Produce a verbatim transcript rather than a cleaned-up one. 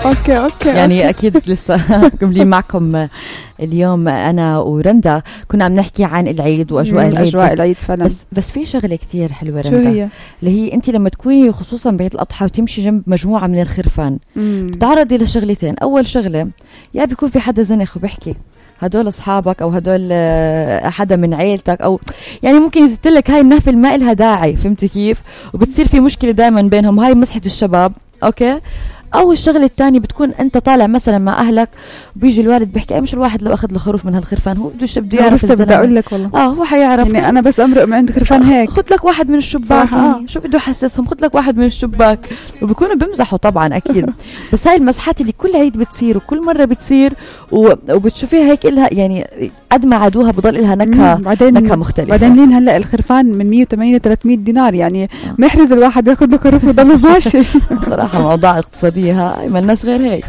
اوكي اوكي يعني اكيد لسه مكملين معكم اليوم انا ورندا، كنا عم نحكي عن العيد واجواء العيد. اجواء العيد فعلا. بس بس في شغله كتير حلوه رندا، شو هي؟ اللي هي انت لما تكوني خصوصا بعيد الاضحى وتمشي جنب مجموعه من الخرفان تتعرضي لشغلتين. اول شغله يا بيكون في حدا زنخ وبيحكي هدول اصحابك او هدول حدا من عيلتك، او يعني ممكن يزت لك هاي النهفه ما لها داعي، فهمتي كيف؟ وبتصير في مشكله دائما بينهم، هاي مسحه الشباب. اوكي. او الشغله الثانيه بتكون انت طالع مثلا مع اهلك، بيجي الوالد بيحكي مش الواحد لو اخذ له خروف من هالخرفان، هو بده بده يعرف. بدي اقول لك والله اه هو حيعرف يعني انا بس امرق من عند خرفان هيك، خذ لك واحد من الشباك. آه. شو بده يحسسهم؟ خذ لك واحد من الشباك. وبيكونوا بمزحوا طبعا اكيد. بس هاي المسحات اللي كل عيد بتصير وكل مره بتصير وبتشوفيها هيك إلها يعني قد ما عادوها بضل إلها نكهه نكهه مختلفه. بعدين لين هلا الخرفان من مية وثمانين ل ثلاثمية دينار، يعني آه. محرز الواحد ياخذ له خروف وضل ماشي. صراحه موضوع اقتصاديه هاي ما لناش غير هيك.